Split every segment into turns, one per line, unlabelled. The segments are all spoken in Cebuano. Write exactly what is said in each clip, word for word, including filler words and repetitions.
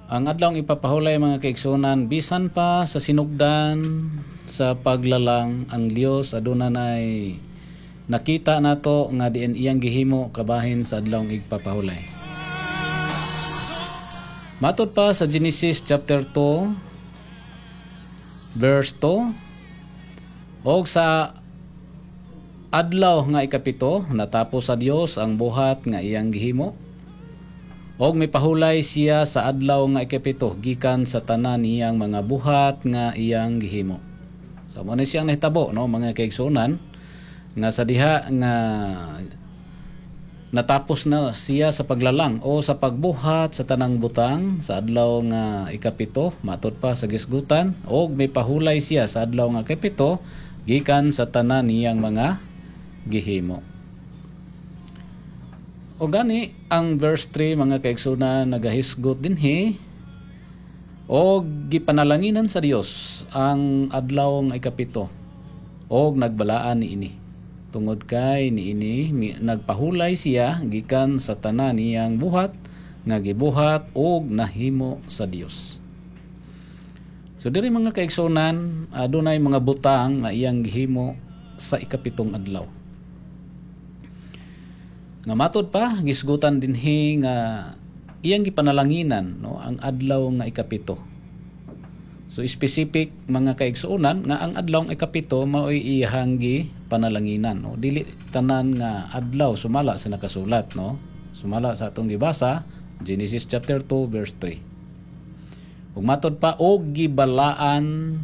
Ang adlaw ipapahulay, mga kaigsunan, bisan pa sa sinugdan sa paglalang, ang Dios aduna nay nakita nato nga diin iyang gihimo kabahin sa adlaw igpapahulay. Matod pa sa Genesis chapter two verse two, og sa adlaw nga ikapito natapos sa Dios ang buhat nga iyang gihimo og mipahulay siya sa adlaw nga ikapito gikan sa tanan niyang mga buhat nga iyang gihimo. So mo ni siyang nahitabo, no, mga kaigsuonan, nga sa diha nga natapos na siya sa paglalang o sa pagbuhat sa tanang butang sa adlaw nga ikapito, matod pa sa gisgutan, og mipahulay siya sa adlaw nga ikapito gikan sa tanan niyang mga gihimo. O gani ang verse three, mga kaigsunan, nagahisgot dinhi, og gipanalanginan sa Dios ang adlaw nga ikapito og nagbalaan niini tungod kay niini nagpahulay siya gikan sa tanan niyang buhat nga gibuhat og nahimo sa Dios. So diri, mga kaigsunan, adunay mga butang nga iyang gihimo sa ikapitong adlaw. Nga matod pa gisgutan dinhi nga iyang gipanalanginan, no, ang adlaw nga ikapito. So specific, mga kaigsuonan, nga ang adlaw nga ikapito maoy iyang gipanalanginan, no. Dili tanan nga adlaw sumala sa nakasulat, no. Sumala sa atong gibasa, Genesis chapter two verse three. Ug matod pa, og gibalaan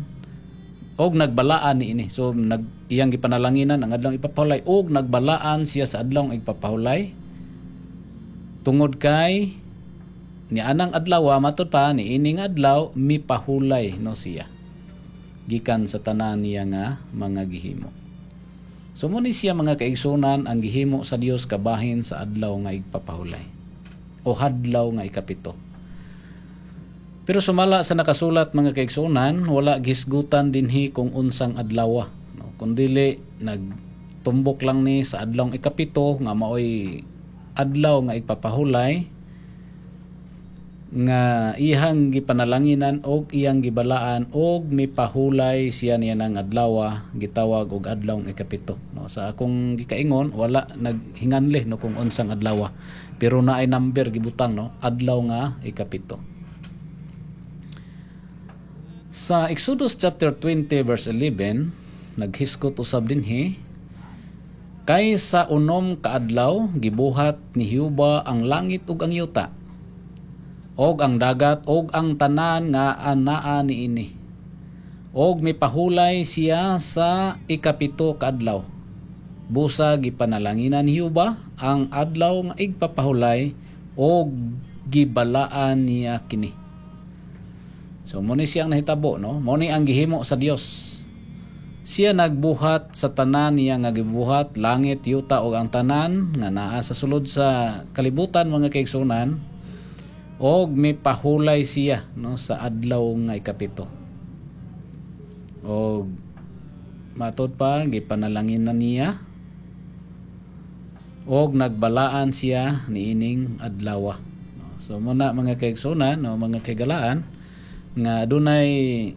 og nagbalaan niini. So nag iyang gipanalanginan ang adlaw ipapahulay og nagbalaan siya sa adlaw ipapahulay tungod kay ni anang adlaw, matod pa, ni ining adlaw mipahulay, no, siya gikan sa tanan niya nga mga gihimo. So mo ni siya, mga kaigsunan, ang gihimo sa Dios kabahin sa adlaw nga igpapahulay o hadlaw nga ikapito. Pero sumala sa nakasulat, mga kaigsunan, wala gisgutan dinhi kung unsang adlaw, no? Kundili nagtumbok lang ni sa adlaw ikapito nga maoy adlaw nga igpapahulay nga iyang gipanalanginan og iyang gibalaan og mipahulay siya niya ng adlaw gitawag og adlaw ikapito, no. Sa akong gikaingon, wala naghinganli, no, kung unsang adlaw, pero naay number gibutang, no, adlaw nga ikapito. Sa Exodus chapter twenty verse eleven, naghisgot usab dinhi, kay sa unom ka adlaw gibuhat ni Jehova ang langit ug ang yuta og ang dagat og ang tanan nga anaa niini. Og mipahulay siya sa ikapito ka adlaw. Busa gipanalanginan ni Jehova ang adlaw nga igpapahulay og gibalaan niya kini. So mo ni siyang nahitabo, no? Mo ni ang gihimo sa Dios. Siya nagbuhat sa tanan niya nga gibuhat, langit, yuta ug ang tanan nga naa sa sulod sa kalibutan, mga kaigsunan, og mipahulay siya, no, sa adlaw nga ikapito. Og matod pa, gipanalangin na niya og nagbalaan siya niining adlaw. So muna, mga kaigsunan, no, mga kaigalaan, nga adunay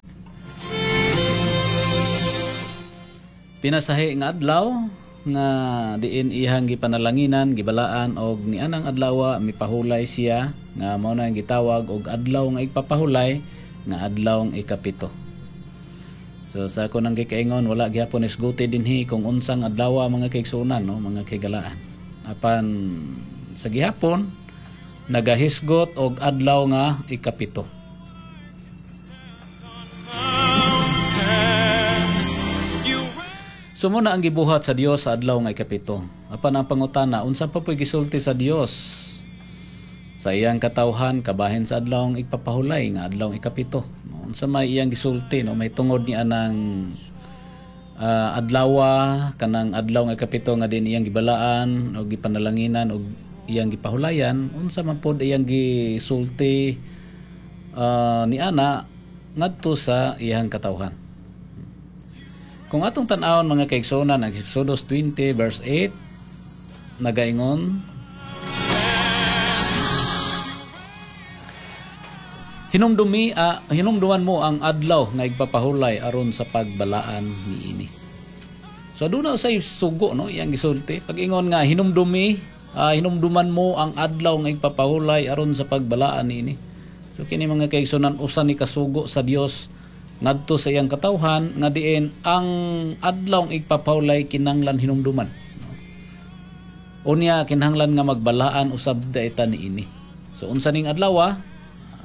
pinasahi nga adlaw nga diin ihang gipanalanginan, gibalaan, og nianang adlaw mipahulay siya nga mao na ang gitawag og adlaw nga igpapahulay nga adlaw ikapito. So sa ako nang gikaingon, wala gihapon isguti dinhi kung unsang adlaw, mga kaigsunan, no, mga kaigalaan. Apan sa gihapon nagahisgot og adlaw nga ikapito. So muna ang gibuhat sa Dios sa adlaw nga ikapito. Apan ang pangutana, unsa pa po'y gisulti sa Dios sa iyang katawhan kabahin sa adlaw nga igpapahulay nga adlaw ikapito? No, unsa may iyang gisulti, no, may tungod niya ng uh, adlawa kanang adlaw nga ikapito nga din iyang gibalaan o gipanalanginan og iyang gipahulayan, unsa man pod iyang gisulti uh, ni ana ngadto sa iyang katawhan? Kung atong tan-awon, mga kaigsuonan, ang Exodus twenty verse eight nagaingon, Hinumdumi ah, hinumduman mo ang adlaw nga igpapahulay aron sa pagbalaan niini. So aduna say sugo, no, iyang gisulti. Pag ingon nga hinumdumi, ah, hinumduman mo ang adlaw nga igpapahulay aron sa pagbalaan niini. So kini, mga kaigsunan, usa ni kasugo sa Dios ngadto sa iyang katawhan nga diin ang adlaw nga igpapahulay kinahanglan hinumduman. No? Unya kinahanglan nga magbalaan usab ta niini. So unsa ning adlaw? ah?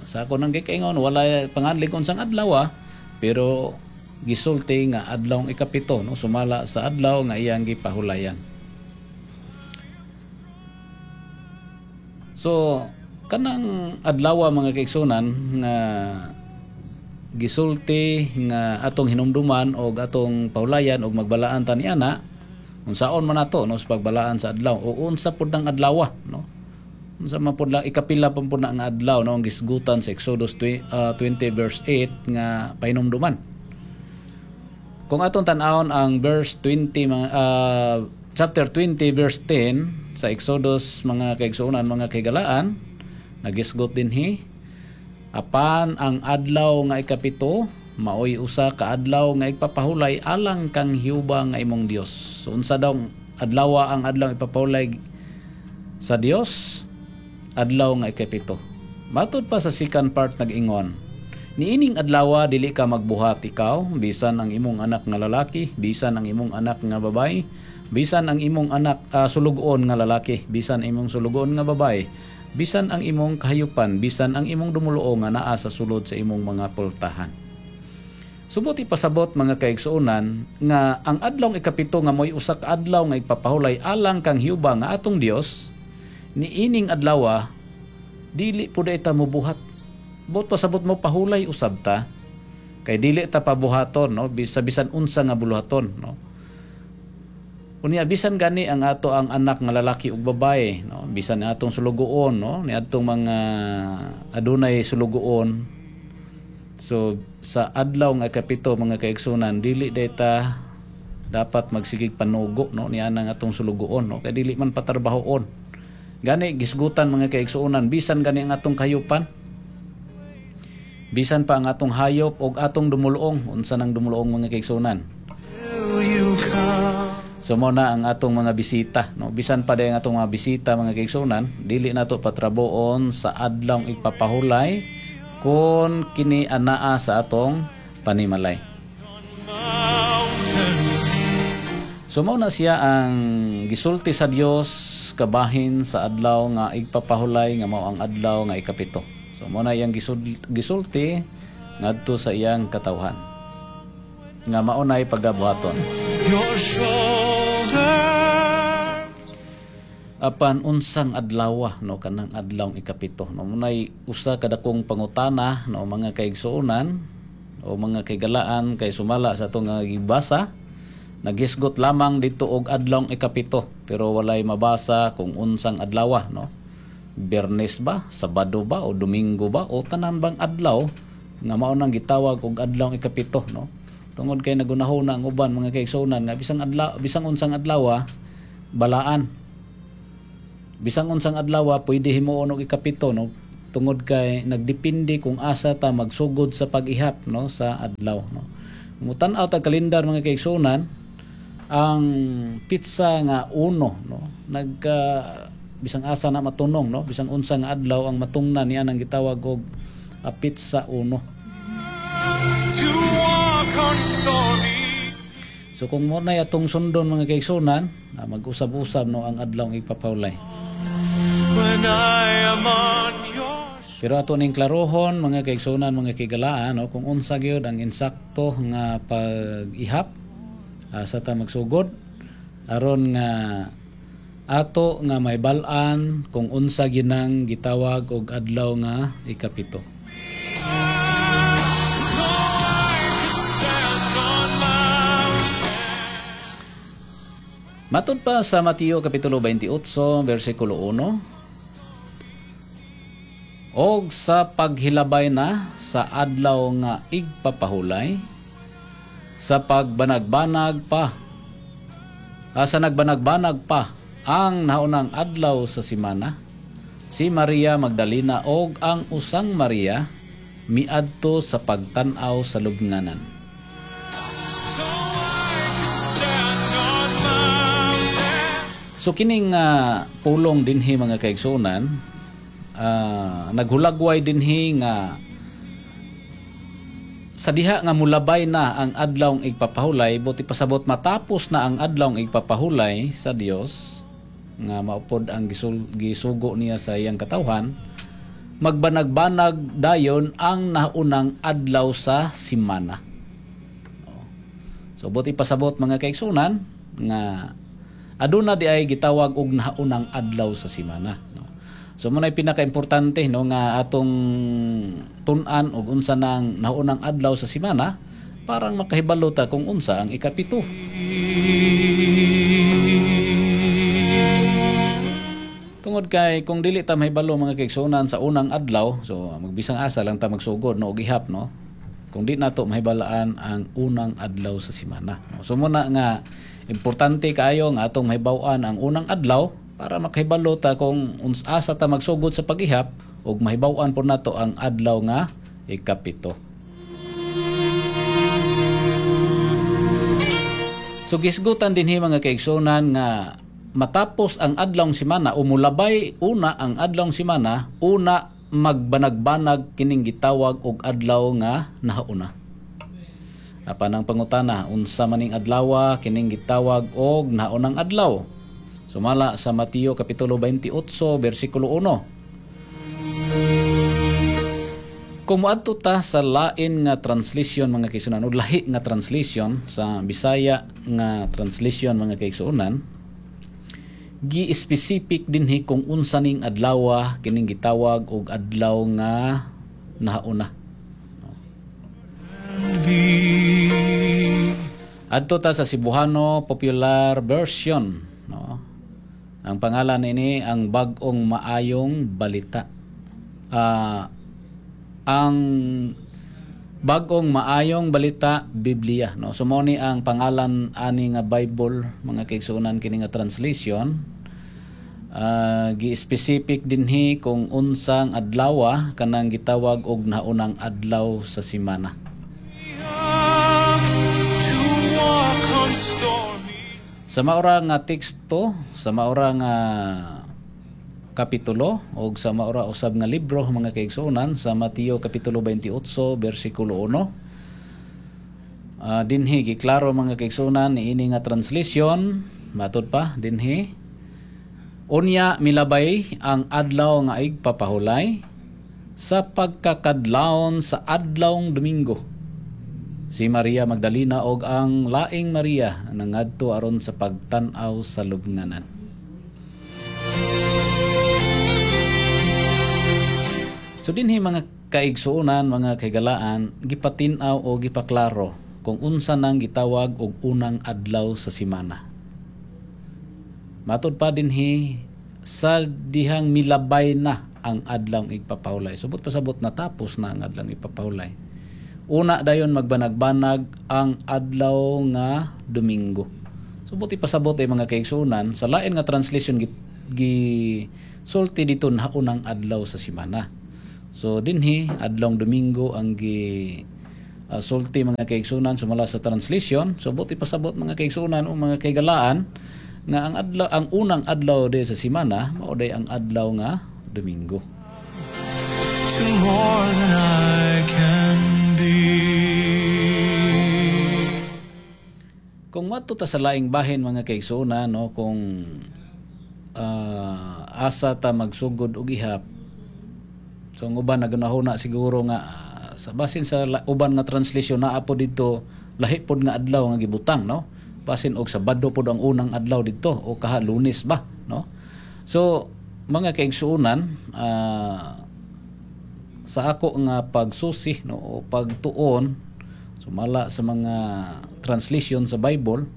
Sa ako nang gikaingon, wala panganlig unsang adlaw, pero gisulti nga adlaw ikapito, no, sumala sa adlaw nga iyang gipahulayan. So kanang adlaw, mga kaigsunan, nga gisulti nga atong hinumduman og atong pahulayan og magbalaan ta niana, unsaon man nato, no, sa pagbalaan sa adlaw o unsa pud ang adlaw, no? Unsa man pud lang, ikapila pa pud na nga adlaw, no, ang gisgutan sa Exodus twenty, uh, twenty verse eight nga pahinumduman? Kung atong tan-awon ang verse twenty mga uh, chapter twenty verse ten sa Exodus, mga kaigsuonan, mga kahigalaan, nagisgot dinhi, "Apan ang adlaw nga ikapito maoy usa ka adlaw nga igpapahulay alang kang Jehova nga imong Dios." So unsa daw adlaw ang adlaw ipapahulay sa Dios? Adlaw nga ikapito. Matud pa sa second part, nag-ingon, "Niining adlaw dili ka magbuhat ikaw, bisan ang imong anak nga lalaki, bisan ang imong anak nga babaye, bisan ang imong anak uh, sulugoon nga lalaki, bisan imong sulugoon nga babaye, bisan ang imong kahayupan, bisan ang imong dumuluong nga naa sa sulod sa imong mga pultahan." Subot ipasabot, mga kaigsuonan, nga ang adlaw ikapito nga mo'y usa ka adlaw nga ipapahulay alang kang Jehova nga atong Dios, niining adlaw dili pud ta mobuhat. Buot pasabot mo pahulay usab ta kay dili ta pabuhaton, no, bisa bisan unsa nga buluhaton, no. Unya bisan gani ang ato ang anak nga lalaki ug babae, no, bisan ang atong sulugoon, no, ni atong mga adunay sulugoon. So sa adlaw nga kapito, mga kaigsunan, dili dayta dapat magsigig panugo, no, niya ang atong sulugoon, no, kay dili man patarbahoon. Gani gisgutan, mga kaigsuonan, bisan gani ang atong kahayupan, bisan pa ang atong hayop og atong dumuluong. Unsa nang dumuluong, mga kaigsuonan? So mo na ang atong mga bisita, no, bisan pa ang atong mga bisita, mga kaigsuonan, dili nato patraboon sa adlaw ipapahulay kon kini anaa sa atong panimalay. So mao na siya ang gisulti sa Dios kabahin sa adlaw nga igpapahulay nga mao ang adlaw nga ikapito. So mao na iyang gisulti ngadto sa iyang katawhan nga mao nay pagabuhaton. Apan unsang adlaw, no, kanang adlaw ikapito, no? Munay usa ka dakong pangutana, no, mga kaigsuonan o mga kaigalaan, kay sumala sa atong nga gibasa, naghisgot lamang dito og adlaw ikapito pero walay mabasa kung unsang adlaw, no? Biyernes ba, Sabado ba, o Domingo ba, o tanan bang adlaw nga mao nang gitawag og adlaw ikapito, no? Tungod kay nagunahona ang uban, mga kaigsuonan, nga bisang adlaw, bisang unsang adlaw balaan, bisang unsang adlaw pwede himuon og ikapito, no, tungod kay nagdepende kung asa ta magsugod sa pag-ihap, no, sa adlaw, no. Mutan-aw tag kalendar, mga kaigsuonan, ang pitsa nga uno, no, nagka bisang asa na matunong, no, bisang unsa nga adlaw ang matungnan niya nang gitawag og uh, pitsa uno. So kung mo na atong sundon, mga kaigsuonan, mag-usab-usab, no, ang adlaw ipapahulay. Pero ato ning klarohon, mga kaigsuonan, mga kigalaan, no, kung unsa gyud ang insakto nga pag-ihap uh, sa ta magsugod aron nga ato nga may bal-an kung unsa ginang gitawag og adlaw nga ikapito. Matud pa sa Mateo Kapitulo twenty-eight versikulo one, "Og sa paghilabay na sa adlaw nga igpapahulay, sa pagbanagbanag pa, ah, sa nagbanagbanag pa ang naunang adlaw sa simana, si Maria Magdalena og ang usang Maria miadto sa pagtan-aw sa lubnganan.
So I can stand on mountains.
So kining ah, pulong dinhi, mga kaigsuonan, ah, naghulagway dinhi nga sa diha nga mulabay na ang adlawng igpapahulay, buot ipasabot matapos na ang adlawng igpapahulay sa Dios nga maupod ang gisul, gisugo niya sa iyang katawhan, magbanag-banag dayon ang naunang adlaw sa simana. So buot ipasabot, mga kaigsuonan, nga aduna di ay gitawag og naunang adlaw sa simana, no? So mao na'y pinakaimportante, no, nga atong tun-an og unsa nang naunang adlaw sa simana parang makahibalo ta kung unsa ang ikapito. Tungod kay kung dili ta mahibalo, mga kaigsuonan, sa unang adlaw, so magbisang asa lang ta magsugod, no, og ihap, no, kung di nato mahibalaan ang unang adlaw sa simana. No? So mao na nga importante kaayo nga atong mahibaw-an ang unang adlaw para makahibalo ta kung asa ta magsugod sa pag-ihap ug mahibaw-an po nato ang adlaw nga ikapito. So gisgutan dinhi, mga kaigsuonan, nga matapos ang adlawng simana o mulabay una ang adlawng simana, una magbanag-banag kining gitawag og adlaw nga nahauna. Apan ang pangutana, unsa maning adlawa kining gitawag og naunang adlaw? Sumala sa Mateo kapitulo twenty-eight bersikulo one. Kung moadto ta sa lain nga translation, mga kaigsuonan, o lahi nga translation, sa Bisaya nga translation, mga kaigsuonan, gi-specific dinhi kung unsa ning adlawa kining gitawag og adlaw nga nahauna. Adto ta sa Cebuano Popular Version, no? Ang pangalan ini ang Bag-ong Maayong Balita. Ah, ang Bag-ong Maayong Balita Biblia, no? So mao ni ang pangalan ani nga Bible, mga kaigsuonan, kini nga translation. Uh, gi-specific dinhi kung unsang adlawa kanang gitawag og naunang adlaw sa simana.
To walk on stormy
Sa maura nga teksto, sa maura nga kapitulo og sa maura usab nga libro, mga kaigsuonan, sa Mateo kapitulo twenty-eight bersikulo one. Uh, dinhi giklaro, mga kaigsuonan, niini nga translation, matud pa dinhi: "Unya milabay ang adlaw nga igpapahulay sa pagkakadlawon sa adlawng Domingo. Si Maria Magdalena og ang laing Maria nangadto aron sa pagtan-aw sa lubnganan." So dinhi, mga kaigsuonan, mga kahigalaan, gipatin-aw o gipaklaro kung unsa nang gitawag og unang adlaw sa simana. Matud pa dinhi sa dihang milabay na ang adlawng igpapahulay. Subot pasabot natapos na ang adlawng igpapahulay. Una dayon magbanag-banag ang adlaw nga Domingo. Subot ipasabot ay, mga kaigsuonan, sa lain nga translation gi, gi sulti dito na unang adlaw sa simana. So dinhi adlawng Domingo ang gi uh, sulti, mga kaigsuonan, sumala sa translation. So buti pasabot, mga kaigsuonan o mga kaigalaan, nga ang adlaw, ang unang adlaw de sa simana mao day ang adlaw nga Domingo.
To more than I can be.
Kung moadto ta sa laing bahin, mga kaigsuonan, no, kung uh, asa ta magsugod og ihap, so ang uban nagunahuna siguro nga uh, sa basin sa uban nga translation naa po dito lahi pod nga adlaw nga gibutang, no, basin og Sabado pod ang unang adlaw dito o kaha Lunes ba, no? So mga kaigsuonan, uh, sa ako nga pagsusi, no, o pagtuon sumala sa mga translation sa Bible,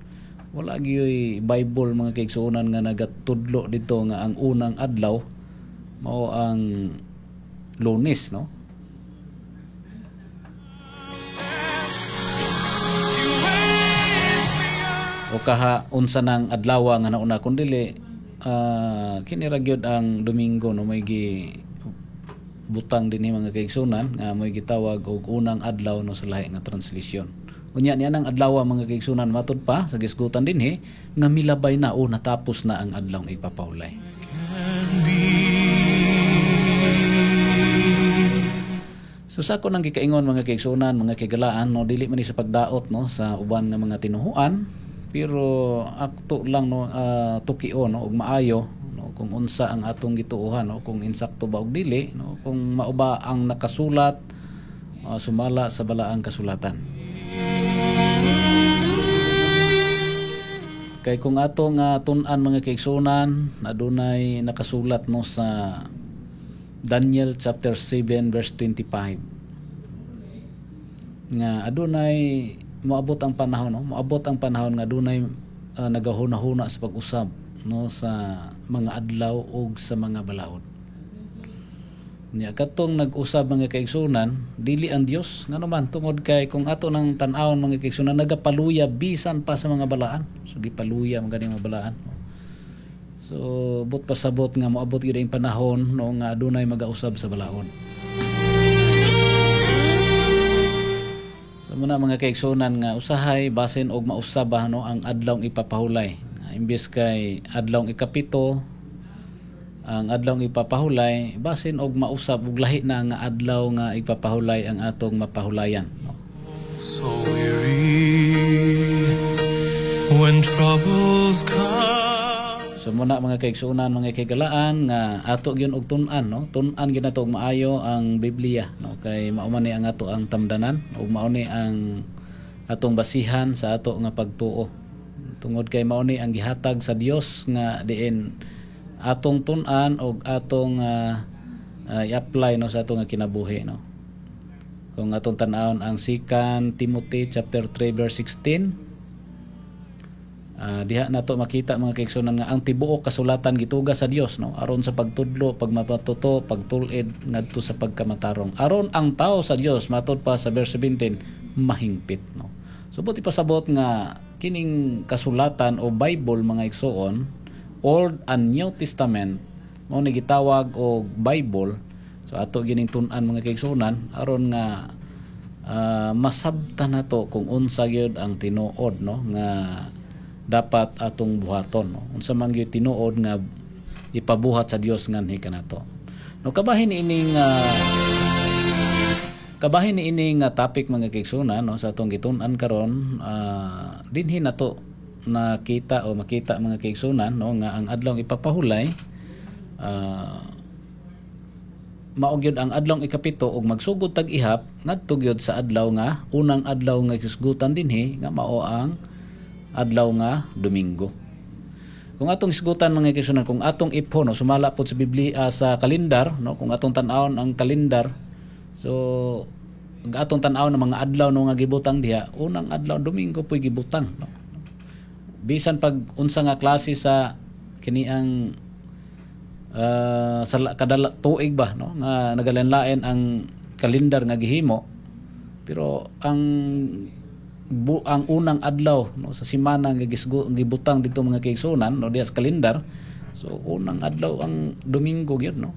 wala gyoy Bible, mga kaigsuonan, nga nagatudlo dito nga ang unang adlaw mao ang Lunes, no? O kaha unsa nang adlaw nga nauna, kun dili uh, kini ra gyud ang Domingo, no, may gi butang dinhi, mga kaigsunan, nga mo'y gitawag og unang adlaw, no, sa lahi nga translation. Unya niya nang adlaw, mga kaigsunan, matud pa sa gisgutan dinhi nga milabay na o natapos na ang adlaw ipapahulay.
Can be.
So sa ako nang gikaingon, mga kaigsunan, mga kaigalaan, no, dili man ni sa pagdaot, no, sa uban nga mga tinuhuan, pero akto lang, no, uh, tukio, no, og maayo, no, kung unsa ang atong gituohan, no, kung insakto ba og dili, no, kung mao ba ang nakasulat uh, sumala sa balaang kasulatan. Kay kung atong uh, tun-an, mga kaigsunan, adunay nakasulat, no, sa Daniel chapter seven verse twenty-five nga adunay moabot ang panahon, no, moabot ang panahon nga adunay uh, nagahuna-huna sa pag-usab, no, sa mga adlaw ug sa mga balaod. Nya katong nag-usab, mga kaigsunan, dili ang Dios. Ngano man? Tungod kay kung ato nang tan-awon, mga kaigsunan, nagapaluya bisan pa sa mga balaan. So gipaluya man gani mga balaan. So but pasabot nga moabot gyud ang panahon, no, nga adunay magausab sa balaod. So muna, mga kaigsunan, nga usahay basin og mausab, no, ang adlawng ipapahulay. Imbes kay adlawng ikapito ang adlawng ipapahulay, basin og mausab og lahi na nga adlaw nga ipapahulay ang atong mapahulayan, no?
So weary when troubles come.
So muna, mga kaigsuonan, mga kaigalaan, nga ato gyud og tun-an, no, tun-an gyud nato og maayo ang Biblia, no, kay mao man ni ang ato ang tamdanan ug mao ni ang atong basihan sa ato nga pagtuo. Tungod kay mao ni ang gihatag sa Dios nga diin atong tun-an og atong uh, uh, i-apply, no, sa atong nga kinabuhi, no. Kung atong tan-awon ang Second Timothy chapter three verse sixteen, Uh, diha nato makita, mga kaigsunan, nga ang tibuok kasulatan gituga sa Dios, no, aron sa pagtudlo, pagmapatuto, pagtul-id ngadto sa pagkamatarong, aron ang tao sa Dios, matud pa sa verse seventeen, mahingpit, no. So buti pasabot nga kining kasulatan o Bible, mga igsuon, Old and New Testament, mao ni gitawag og Bible. So ato gining tun-an, mga kaigsunan, aron nga uh, masabtan nato kung unsa gyud ang tinuod, no, nga dapat atong buhaton, no? Unsa man gyud tinuod nga ipabuhat sa Dios nganhi kanato, no. Kabahin ining uh, kabahin ining uh, topic, mga kaigsunan, no, sa atong gitun-an karon, uh, dinhi nato nakita o makita, mga kaigsunan, no, nga ang adlawng ipapahulay uh, mao gyud ang adlawng ikapito ug magsugod tag ihap ngadto gyud sa adlaw nga unang adlaw nga hisgutan dinhi nga mao ang adlaw nga Domingo. Kung atong hisgutan, mga kaigsunan, kung atong ipho, no, sumala pod sa Biblia, uh, sa kalendar, no, kung atong tan-awon ang kalendar, so atong tan-awon ang mga adlaw, no, nga gibutang diha, unang adlaw Domingo po'y gibutang, no. Bisan pag unsa nga klase sa kini ang uh, sa kada tuig ba, no, nga nagalain-lain ang kalendar nga gihimo, pero ang bu, ang unang adlaw, no, sa semana nga gibutang dito, mga kaigsunan, no, diha sa kalendar, so unang adlaw ang Domingo gyud, no.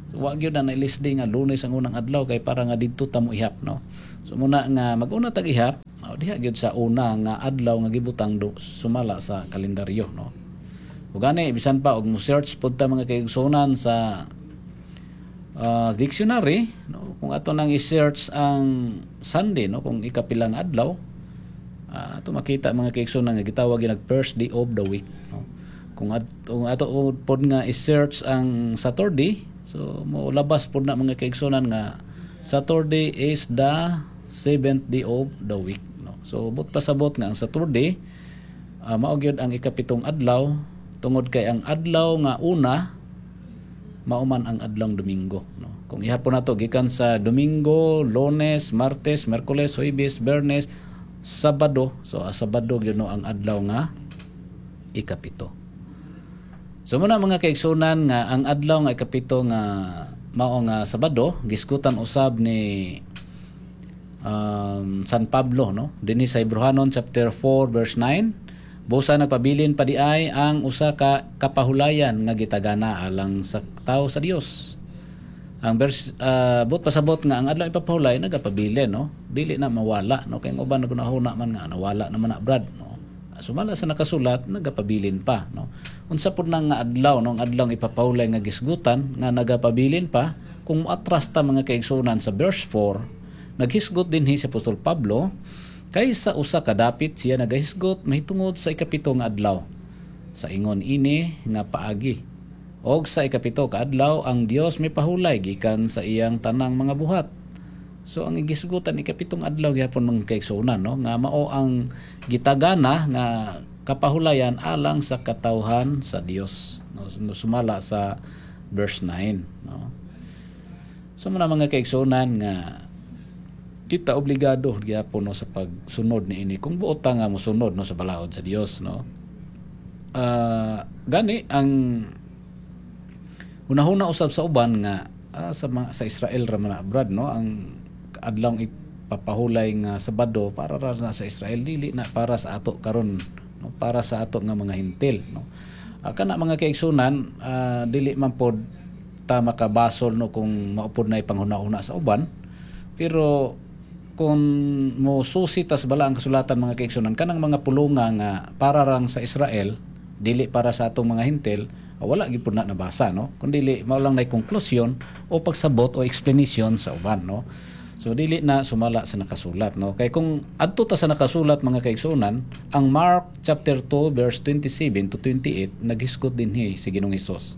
So, wa gyud na nailisdi nga Lunes ang unang adlaw kay para nga didto ta mo ihap, no. So muna nga maguna tag ihap, no, diha gyud sa una nga adlaw nga gibutang do, sumala sa kalendaryo, no. Ug gani bisan pa og mo search pud ta, mga kaigsunan, sa uh, dictionary, no, kung ato nang i-search ang Sunday, no, kung ikapilang adlaw, Uh, ato makita, mga kaigsunan, nga gitawag gyud first day of the week, no. Kung at, kung ato pod nga i-search ang Saturday, so mo labas pod na, mga kaigsunan, nga Saturday is the seventh day of the week, no. So but pasabot nga ang Saturday uh, mao gyud ang ikapitong adlaw tungod kay ang adlaw nga una mao man ang adlawng Domingo, no. Kung ihapon nato gikan sa Domingo, Lunes, Martes, Miyerkules, Huwebes, Biyernes, Sabado, so uh, Sabado gyud, no, ang adlaw nga ikapito. So muna, mga kaigsunan, nga ang adlaw nga ikapito nga mao nga Sabado, gisgutan usab ni um, San Pablo, no, dinhi sa Hebreohanon chapter four verse nine, busa nagpabilin pa di ay ang usa ka kapahulayan nga gitagana alang sa tao sa Dios. Ang verse uh, buot pasabot nga ang adlaw ipapahulay nagapabilin, no? Dili na mawala, no? Kay ang uban nagunahuna man nga nawala naman na, Brad, no? Sumala sa nakasulat, nagapabilin pa, no? Unsa pud na nga adlaw, no, ang adlaw ipapahulay nga gisgutan nga nagapabilin pa? Kung moatras ta, mga kaigsuonan, sa verse four, naghisgot dinhi si Apostol Pablo kay sa usa ka dapit siya nagahisgot mahitungod sa ikapito nga adlaw sa ingon ini nga paagi. Og sa ikapito ka adlaw ang Dios may pahulay gikan sa iyang tanang mga buhat. So ang igisgutan, ikapitong adlaw gyapon, mga kaigsuonan, no, nga mao ang gitagana nga kapahulayan alang sa katawhan sa Dios, no, sumala sa verse nine, no. So mao mga kaigsuonan nga kita obligado gyapon, no, sa pagsunod niini kung buot ta nga mosunod, no, sa balaod sa Dios, no. Uh, gani ang hunahuna usab sa uban nga uh, sa mga, sa Israel ra man na, Brad, no, ang adlaw ipapahulay nga Sabado para ra na sa Israel, dili na para sa ato karon, no, para sa ato nga mga Hentil, no. Uh, kana mga kaigsunan, uh, dili man pod ta makabasol, no, kung mao pod na ipanghuna-huna sa uban. Pero kung mo susi tas bala ang kasulatan, mga kaigsunan, kanang mga pulunga nga para rang sa Israel, dili para sa atong mga Hentil, wala gyud na nabasa, no, kun dili mao lang nay konklusyon o pagsabot o explanation sa uban, no. So dili na sumala sa nakasulat, no, kay kung adto ta sa nakasulat, mga kaigsuonan, ang Mark chapter two verse twenty-seven to twenty-eight, naghisgot dinhi si Ginoong Hesus.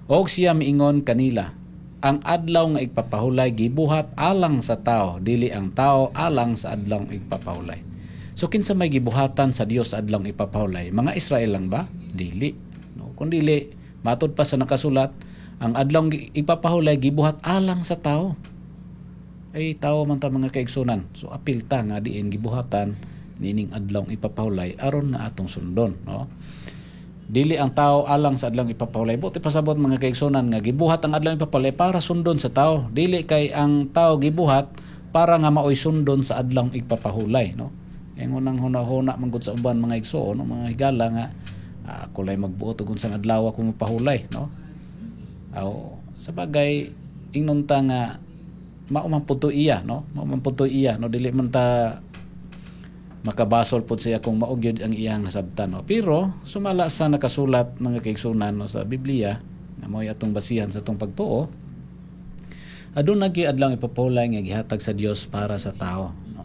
Og siya miingon kanila, "Ang adlaw nga igpapahulay gibuhat alang sa tao, dili ang tao alang sa adlaw igpapahulay." So kinsa may gibuhatan sa Dios sa adlaw ipapahulay? Mga Israel lang ba? Dili, no? Kung dili, matod pa sa nakasulat, ang adlaw ipapahulay gibuhat alang sa tao. Ay tao man ta, mga kaigsunan. So apil ta nga diin gibuhatan nining adlaw ipapahulay aron nga atong sundon, no? Dili ang tao alang sa adlaw ipapahulay. Buot ipasabot, mga kaigsunan, nga gibuhat ang adlaw ipapahulay para sundon sa tao. Dili kay ang tao gibuhat para nga maoy sundon sa adlaw ipapahulay, no? Ang unang huna-huna man gud sa uban, mga igsoon, no, mga higala, nga ah, ako lay magbuot og unsang adlaw ako mapahulay, no? Aw, sa bagay ingnon ta nga mao man pud to iya, no? Mao man pud to iya, no? Dili man ta makabasol pud siya kung mao gyud ang iyang nasabtan, no? Pero sumala sa nakasulat, mga kaigsunan, no, sa Biblia nga mao'y atong basihan sa atong pagtuo, aduna gyud adlaw ipapahulay nga gihatag sa Dios para sa tao, no.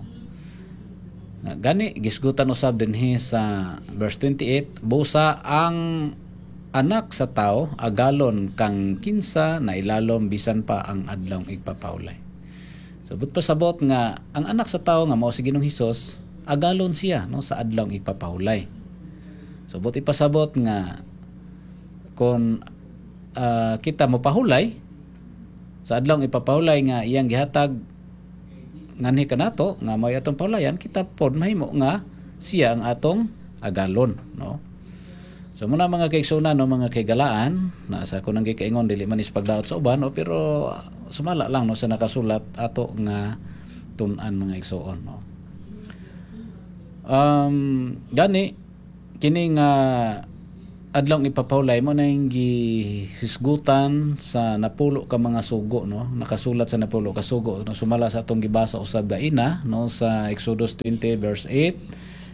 Nga gani gisgutan usab dinhi sa verse twenty-eight, "Busa ang Anak sa Tao agalon kang kinsa na ilalom bisan pa ang adlaw igpapahulay." So buot pasabot nga ang Anak sa Tao nga mao si Ginoong Hesus, agalon siya, no, sa adlaw igpapahulay. So buot ipasabot nga kung uh, kita mopahulay sa adlaw ipapahulay nga iyang gihatag nganhi kanato nga may atong pahulayan, kita pod mahimo nga siya ang atong agalon, no. So mao na, mga kaigsunan, no, mga kaigalaan, na sa ako nang gikaingon, dili man is pagdaot sa uban, no, pero sumala lang, no, sa nakasulat ato nga tun-an, mga igsoon, no. Um gani kini nga adlaw ipapahulay mao na yung gihisgutan sa napulo ka mga sugo, no, nakasulat sa napulo ka sugo, no, sumala sa atong gibasa usab gaina, no, sa Exodus twenty verse eight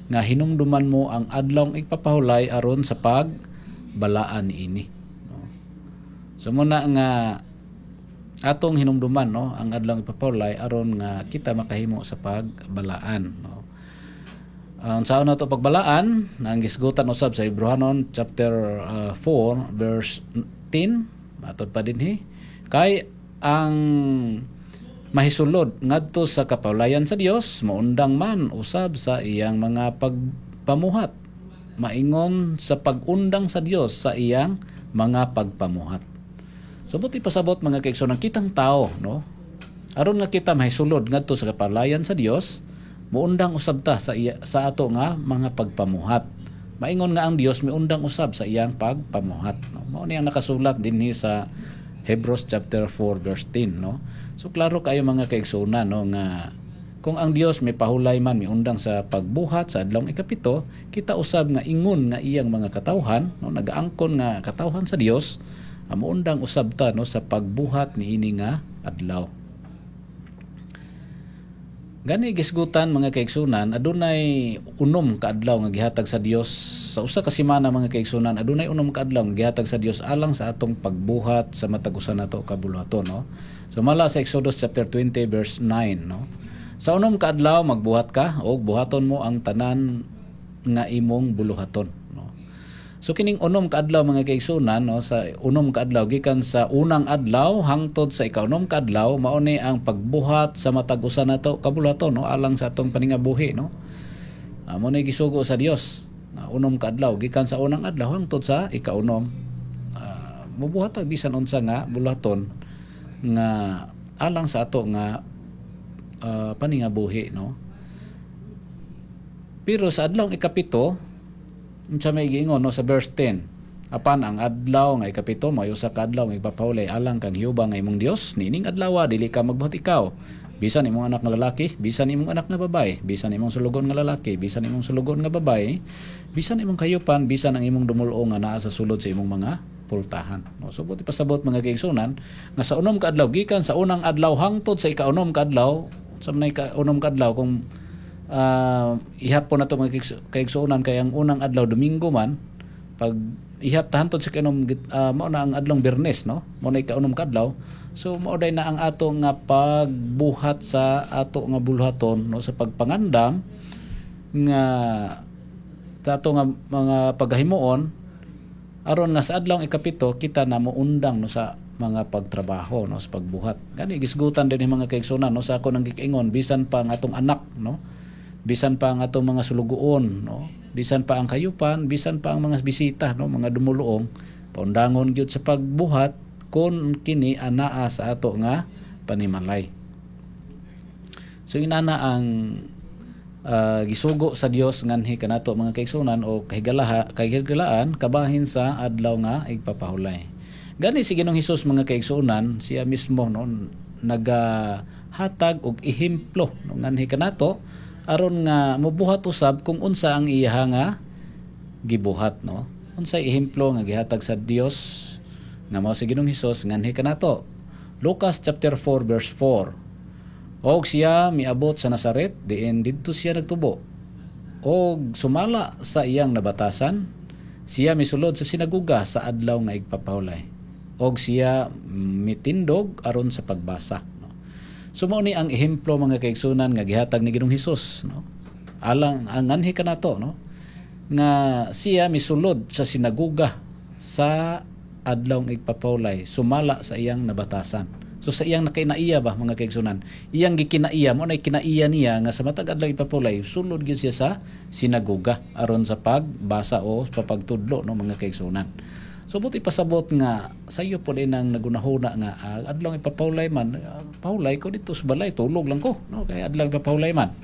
nga "Hinumduman mo ang adlaw igpapahulay aron sa pagbalaan niini", no. So mao na nga atong hinumduman, no, ang adlaw ipapahulay aron nga kita makahimo sa pagbalaan, no. Uh, unsaon nato pagbalaan? Ang gisgutan usab sa Hebreohanon chapter uh, four verse ten, matod pa dinhi, "Kay ang mahisulod ngadto sa kapahulayan sa Dios maundang man usab sa iyang mga pagpamuhat, maingon sa pag-undang sa Dios sa iyang mga pagpamuhat." So buot ipasabot, mga kaigsoon, kitang tao, no, aron nga kita mahisulod ngadto sa kapahulayan sa Dios, muundang usab ta sa iya, sa ato nga mga pagpamuhat. Maingon nga ang Dios miundang usab sa iyang pagpamuhat, no? Mao ni ang nakasulat dinhi sa Hebrews chapter four verse ten, no. So klaro kayo, mga kaigsuonan, no, nga kung ang Dios may pahulay man, miundang sa pagbuhat sa adlawng ikapito, kita usab nga ingon nga iyang mga katawhan, no, nagaangkon nga katawhan sa Dios. uh, muundang usab ta, no, sa pagbuhat niini nga adlaw. Gani gisgutan, mga kaigsunan, adunay unom ka adlaw nga gihatag sa Dios sa usa ka semana, mga kaigsunan. Adunay unom ka adlaw nga gihatag sa Dios alang sa atong pagbuhat sa matag usa nato ka buluhaton, no. So mala sa Exodus chapter twenty verse nine, no. Sa unom ka adlaw magbuhat ka og buhaton mo ang tanan nga imong buluhaton, no. So kining unom ka adlaw, mga kaigsunan, no, sa unom ka adlaw gikan sa unang adlaw hangtod sa ikaunom ka adlaw, mao ni ang pagbuhat sa matag usa nato ka buluhaton, no, alang sa atong paningabuhi, no. Amo ni gisugo sa Dios nga unom ka adlaw gikan sa unang adlaw hangtod sa ikaunom. Uh, mubuhat ta bisan unsa nga buluhaton nga alang sa ato nga uh, paningabuhi, no. Pero sa adlaw ikapito, unsa may giingon, no, sa verse ten? Apan ang adlaw nga ikapito may usa ka adlaw nga ipapahulay alang kang Jehova nga imong Dios. Niining adlaw dili ka magbuhat ikaw, bisan imong anak nga lalaki, bisan imong anak nga babaye, bisan imong sulugon nga lalaki, bisan imong sulugon nga babaye, bisan imong kayupan, bisan ang imong dumuluong nga naa sa sulod sa imong mga pultahan, no. So buot ipasabot, mga kaigsunan, nga sa unom ka adlaw, gikan sa unang adlaw hangtod sa ikaunom ka adlaw, sa may kaunom ka adlaw, kung uh, ihap po na to, mga kaigsuonan, kay ang unang adlaw Domingo man, pag ihap ta hantod sa kainom, uh, mao na ang adlong Biyernes, no, mao na ikaunom ka adlaw. So mao day na ang ato nga pagbuhat sa ato nga buluhaton, no, sa pagpangandam nga sa ato nga mga paghimuon aron nga sa adlaw ikapito kita na moundang, no, sa mga pagtrabaho, no, sa pagbuhat. Gani gisgutan din mga kaigsunan, no, sa ako nang giingon, bisan pa ang atong anak, no, bisan pa ang atong mga sulugoon, no, bisan pa ang kayupan, bisan pa ang mga bisita, no, mga dumuluong, paundangon gyud sa pagbuhat kon kini anaa sa ato nga panimalay. So inana ang uh, gisugo sa Dios nganhi kanato, mga kaigsunan, o kahigalaha kahigalaan kabahin sa adlaw nga igpapahulay. Gani si Ginoong Hesus, mga kaigsunan, siya mismo, no, nagahatag og ehemplo, no, nganhi kanato aron nga mobuhat usab kung unsa ang iya nga gibuhat, no. Unsay ehemplo nga gihatag sa Dios nga mao si Ginoong Hesus nganhi kanato? Lucas chapter four verse four. Og siya miabot sa Nazaret diin didto siya nagtubo. Og sumala sa iyang nabatasan, siya misulod sa sinaguga sa adlaw nga igpapahulay. Og siya mitindog aron sa pagbasa. So mao ni ang ehemplo, mga kaigsunan, nga gihatag ni Ginoong Hesus, no. Alang ang nganhi kanato, no, nga siya misulod sa sinaguga sa adlaw nga igpapahulay sumala sa iyang nabatasan. So sa iyang nakinaiya ba, mga kaigsunan? Iyang gikinaiya mo na kinaiya niya nga sa matag adlaw ipapahulay sulod gyud siya sa sinaguga aron sa pagbasa o sa pagtudlo, no, mga kaigsunan. So buot ipasabot nga sayo po din ang nagunahuna nga uh, adlaw ipapahulay man, uh, pahulay ko dito sa balay, tulog lang ko, no, kay adlaw ipapahulay man.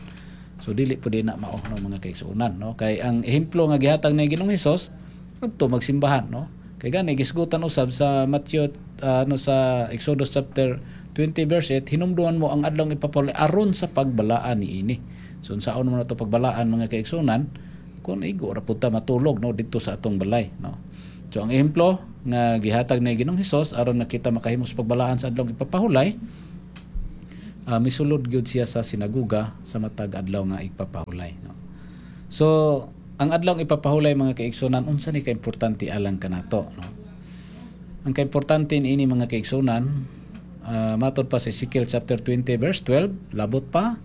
So dili po din na mao, no, mga kaigsuonan, no, kay ang ehemplo nga gihatag ni Ginoong Hesus adto magsimbahan, no. Kay gani gisgutan usab sa Matthew, uh, no, sa Exodus chapter twenty verse eight, hinumduman mo ang adlaw ipapahulay aron sa pagbalaan niini. So unsaon mo na to pagbalaan, mga kaigsunan, kung igo ra pud ta matulog, no, didto sa atong balay, no. So ang ehemplo nga gihatag ni Ginoong Hesus aron na kita makahimo sa pagbalaan sa adlaw ipapahulay, uh, misulod gyud siya sa sinaguga sa matag adlaw nga ipapahulay, no. So ang adlaw ipapahulay, mga kaigsunan, unsa ni kaimportante alang kanato, no? Ang kaimportante niini, mga kaigsunan, uh, matod pa sa Ezekiel chapter twenty verse twelve, labot pa,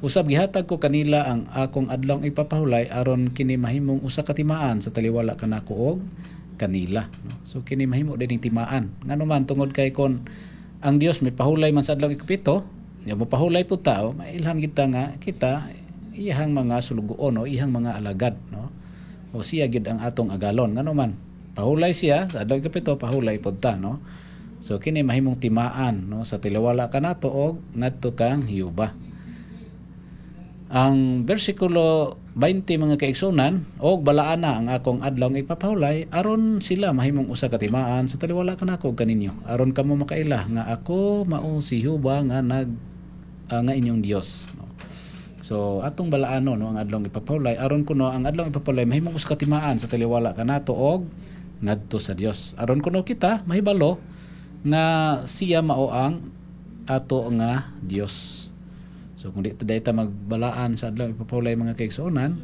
usab gihatag ko kanila ang akong adlaw ipapahulay aron kini mahimong usa ka timaan sa taliwala kanako og kanila, no? So kini mahimo din timaan ngano man tungod kay kon ang Dios may pahulay man sa adlaw ikapito, ya mo pahulay pud tao, mailhan kita nga kita iyahang mga sulugoon o iyahang mga alagad, no, o siya gid ang atong agalon ngano man pahulay siya sa adlaw ikapito, pahulay pud ta, no. So kini mahimong timaan, no, sa taliwala kanato og ngadto kang Jehova. Ang bersikulo twenty, mga kaigsunan, og balaan na ang akong adlaw nga ipapahulay aron sila mahimong usa ka timaan sa taliwala kanako ug kaninyo, aron kamo makaila nga ako mao si Jehova nga nag uh, nga inyong Dios, no. So atong balaano, no, ang adlaw ipapahulay aron kuno ang adlaw ipapahulay mahimong usa ka timaan sa taliwala kanato og ngadto sa Dios aron kuno kita mahibalo nga siya mao ang ato nga Dios. So kung di ta ta magbalaan sa adlaw ipapahulay, mga kaigsuonan,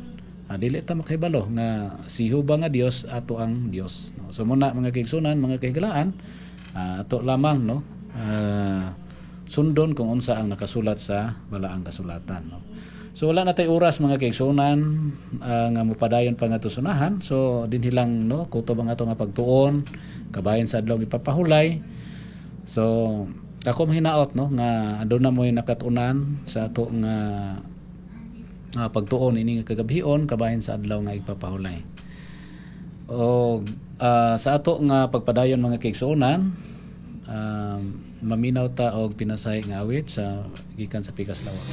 ah, dili ta makahibalo nga si Jehova nga Dios ato ang Dios, no? So muna, mga kaigsuonan, mga kahigalaan, ah, ato lamang, no, ah, sundon kung unsa ang nakasulat sa balaang kasulatan, no? So wala na tay oras, mga kaigsuonan, ah, nga mopadayon pa nga tusunahan. So dinhi lang, no, kutob ang ato nga pagtuon kabahin sa adlaw ipapahulay. So ako mahinaot, no, nga aduna mo'y nakatunan sa ato nga uh, pagtuon ini nga kagabhion kabahin sa adlaw nga igpapahulay. O ah, sa ato nga pagpadayon, mga kaigsuonan, um, maminaw ta og pinasahi nga awit sa gikan sa Pikas Lawak.